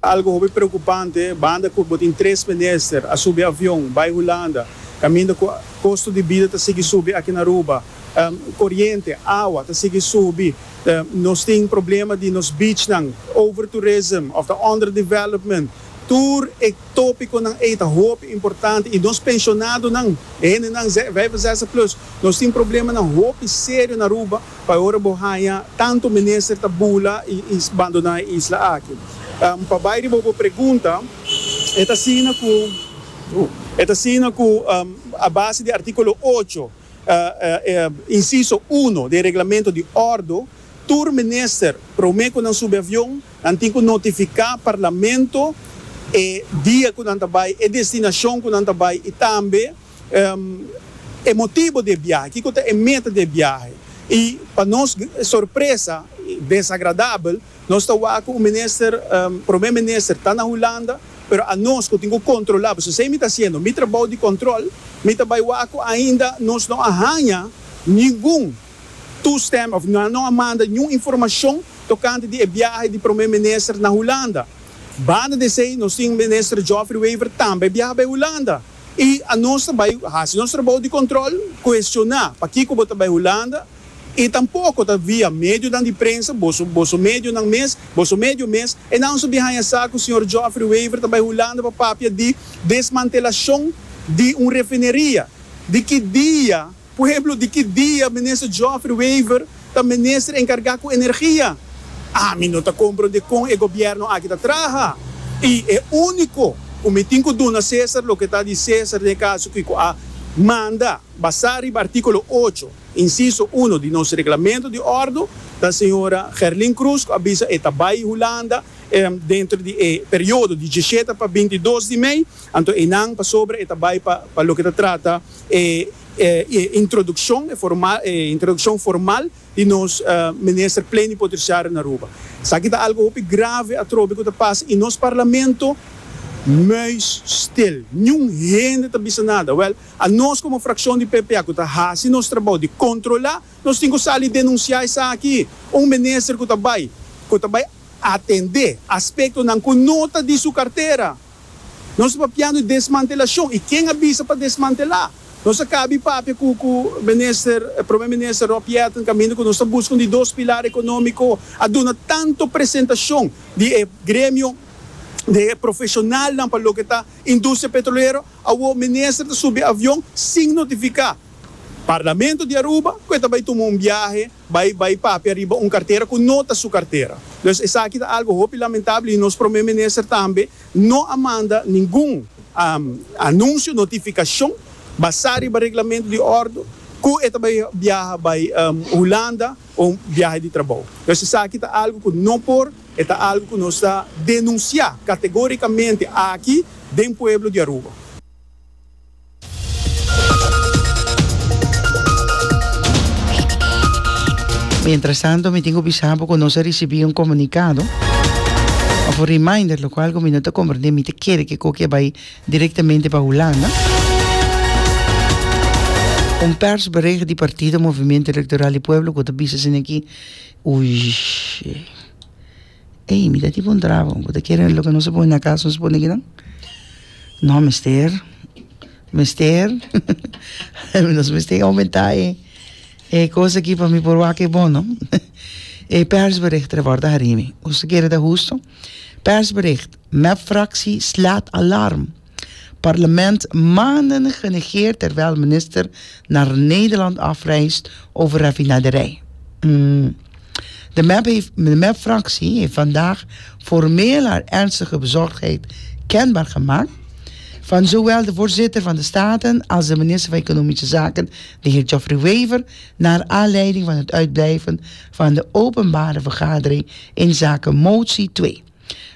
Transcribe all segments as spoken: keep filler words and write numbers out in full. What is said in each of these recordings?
Algo hopi preocupante, banda cu bo tin tres minister a subi avion bay Hulanda, caminda cu costo di bida ta sigui subi aki na Aruba, um, coriente, awa ta sigui subi, um, nos tin problema di nos beachnan, overtourism of the underdevelopment. Tur e topiconan ey ta hopi importante y nos pensionadonan, hendenan vijfenzestig plus, nos tin problemanan hopi serio na Aruba, pa ora bo haya tanto minister ta bula y, y abandona e isla aki. Um, pa bay riba bo pregunta, e ta asina cu uh, e ta asina cu um, a base di articulo ocho, uh, uh, uh, inciso un di reglamento di ordo, tur minister prome cu nan subi avion, nan tin cu notifica parlamento e dia cu nan ta bay, e destinacion cu nan ta bay y tambe um, e motibo di biahe, kico ta e meta di biahe. Y pa nos sorpresa desagradabel, nos ta wak cu e minister, um, prome minister ta na Hulanda, pero anos cu tin cu controla, pasobra mi ta haciendo mi trabou di control, mi ta bay wak ainda nos no a haya ningun toestem of no, no a manda ningun informacion tocante di biahe di prome minister na Hulanda. Banda di esey, nos tin minister Geoffrey Wever tambe biaha pa Hulanda. Y anos ta bay haci nos trabou di control, cuestiona pakico bo ta bay Hulanda, y tampoco ta via medio di prensa, boso, boso medionan mes, boso medio mes, y nos a bin haya sa cu señor Geoffrey Wever ta bay Hulanda pa papia di desmantelacion di un refineria. Di ki dia, por ehempel, di ki dia minister Geoffrey Wever ta minister encarga cu energia? Ami no ta comprende con e gobierno aki ta traha. Y e unico, cu mi tin cu duna Cesar, loke ta di Cesar, den caso cu a manda, basa riba articulo ocho, inciso un di nos reglamento di ordo, da señora Gerlin Cruz, a bisa e ta bay Hulanda, eh, den di eh, periodo di diesshete pa bintidos di mei, anto einan pasobra e ta bay pa pa loke ta trata eh, eh, introduccion, formal, eh, introduccion formal di nos uh, minister plenipotenciario na Aruba. Esaki ta algo hopi grave atrobe cu ta pasa den nos parlamento, muisstil. Ningun hende ta bisa nada. Wel, anos como fraccion di P P A, cu ta haci nos trabou di controla, nos tin cu sali denuncia esaki. Un minister cu ta bay, cu ta bay atende aspectonan cu no ta di su cartera. Nos ta papiando di desmantelacion. Y ken a bisa pa desmantela? Nos a caba di papia cu e minister, prome minister Rob Jetten, caminda cu nos ta buscando di dos pilar economico, a duna tanto presentacion di eh, gremio di profesional pa loke ta industria petrolero, e minister ta subi avion sin notifica Parlamento di Aruba, cu ta bay tuma un biahe, bay bay papia riba un cartera cu no ta su cartera. Dus esaki ta algo hopi lamentabel y nos prome minister tambe no a manda ningun um, anuncio, notificacion, basa riba reglamento di ordo, cu e ta bay biaha bay um, Hulanda un biahe di trabou. Dus esaki ta algo cu no por, ta algo cu nos ta denuncia categoricamente aki den pueblo di Aruba. Mientras tanto, mi tin cu bisa cu nos a ricibi un comunicado of un reminder, locual mi no ta comprende, mi ta kere cu e ta bay directamente pa Hulanda. Un persbericht di Partido Movimiento Electoral di Pueblo, cu ta bisa aki, ui, ey, mi ta tipo un trabo, bo kere loke no se pone na cas, no se pone aki no? No, mester, mester, nos mester aumenta e, e cos aki pa mi por wak bon, no? E persbericht er wordt harimi. Hoe kere dat justo? Persbericht. M E P-fractie slaat alarm. Parlement maanden genegeerd terwijl minister naar Nederland afreist over raffinaderij. Mm. De M E P heeft, de M E P-fractie heeft vandaag formeel haar ernstige bezorgdheid kenbaar gemaakt van zowel de voorzitter van de Staten als de minister van Economische Zaken, de heer Geoffrey Wever, naar aanleiding van het uitblijven van de openbare vergadering in zaken motie twee.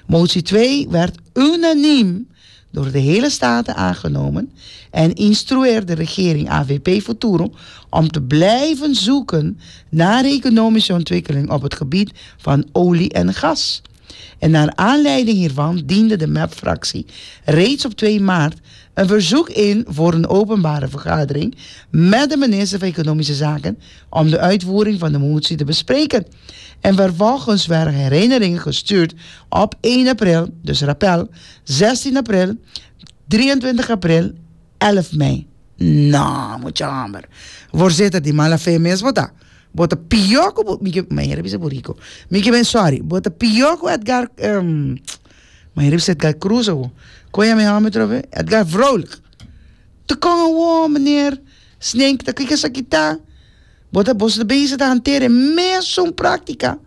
Motie twee werd unaniem door de hele Staten aangenomen en instrueerde de regering A V P Futuro om te blijven zoeken naar economische ontwikkeling op het gebied van olie en gas. En naar aanleiding hiervan diende de M E P-fractie reeds op twee maart een verzoek in voor een openbare vergadering met de minister van Economische Zaken om de uitvoering van de motie te bespreken. En vervolgens werden herinneringen gestuurd op één april, dus rappel, zestien april, drieëntwintig april, elf mei. Nou, moet je hammer. Voorzitter, di mala fe mes bo ta. Bo ta pió ku, mi ke, mi a bisa buriku. Mi ke men sorry. Bo ta pió ku Edgar, um, mi a bisa Edgar Cruz. Kon mi yama trobe? Edgar Vrolijk. Te kon gewoon, meneer Snink, dat kijk eens kita. Bo ta bo ta bezig te hanteren mesun práktika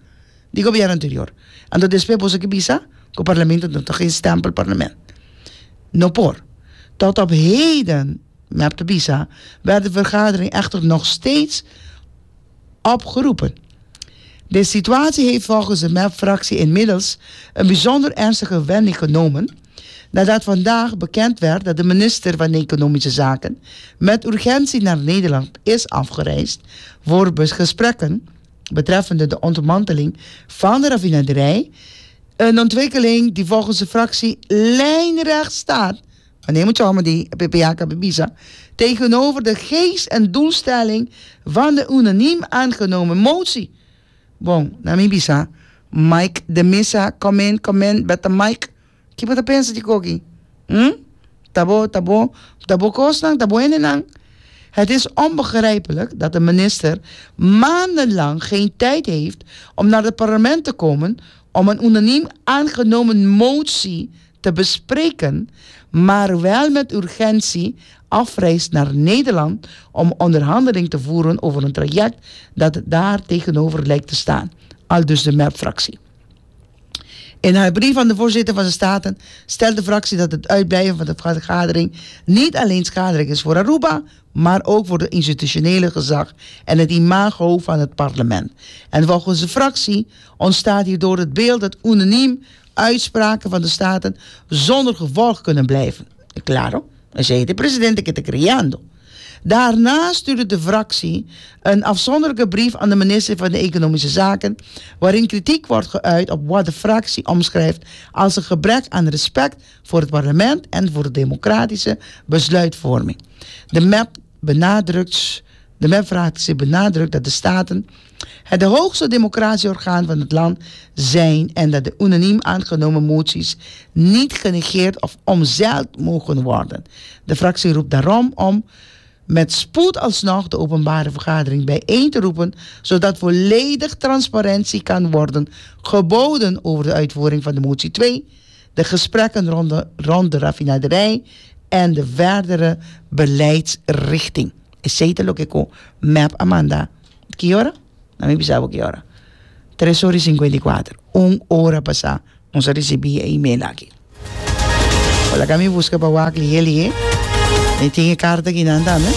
di gobièrnu anterior. Anto despues bo ke bisa, ku parlamento no tin geen stempelparlement. No por. Tot op heden, MEP ta bisa, werd de vergadering echter nog steeds opgeroepen. De situatie heeft volgens de M E P-fractie inmiddels een bijzonder ernstige wending genomen nadat vandaag bekend werd dat de minister van Economische Zaken met urgentie naar Nederland is afgereisd voor gesprekken betreffende de ontmanteling van de raffinaderij. Een ontwikkeling die volgens de fractie lijnrecht staat, wanneer moet je allemaal die P P A bisa, tegenover de geest en doelstelling van de unaniem aangenomen motie. Bon, na mi bisa, Mike de Missa, come in, come in, met de Mike. Kiko bo ta pensa di e kos aki? Hm? Tabo, tabo, tabo kosnang, tabo enenang. Het is onbegrijpelijk dat de minister maandenlang geen tijd heeft om naar het parlement te komen om een unaniem aangenomen motie te bespreken, maar wel met urgentie afreist naar Nederland om onderhandeling te voeren over een traject dat daar tegenover lijkt te staan. Aldus de M E P-fractie. In haar brief aan de voorzitter van de Staten stelt de fractie dat het uitblijven van de vergadering niet alleen schadelijk is voor Aruba, maar ook voor de institutionele gezag en het imago van het parlement. En volgens de fractie ontstaat hierdoor het beeld dat unaniem uitspraken van de Staten zonder gevolg kunnen blijven. Claro, zei de presidente ku ta kriando. Daarna stuurde de fractie een afzonderlijke brief aan de minister van de Economische Zaken, waarin kritiek wordt geuit op wat de fractie omschrijft als een gebrek aan respect voor het parlement en voor de democratische besluitvorming. De M E P benadrukt, de M E P-fractie benadrukt dat de Staten het hoogste democratieorgaan van het land zijn en dat de unaniem aangenomen moties niet genegeerd of omzeild mogen worden. De fractie roept daarom om met spoed alsnog de openbare vergadering bijeen te roepen, zodat volledig transparantie kan worden geboden over de uitvoering van de motie twee, de gesprekken rond de, rond de raffinaderij en de verdere beleidsrichting. Esei ta loke ku M E P a manda. Ki ora? Na mi bisa ki ora. tres or i sinkuenta i kuater. Un ora pasá. Nos a risibí e e-mail aki. Laga mi buska pa wak lihé lihé. E tin e karta aki nan tambe.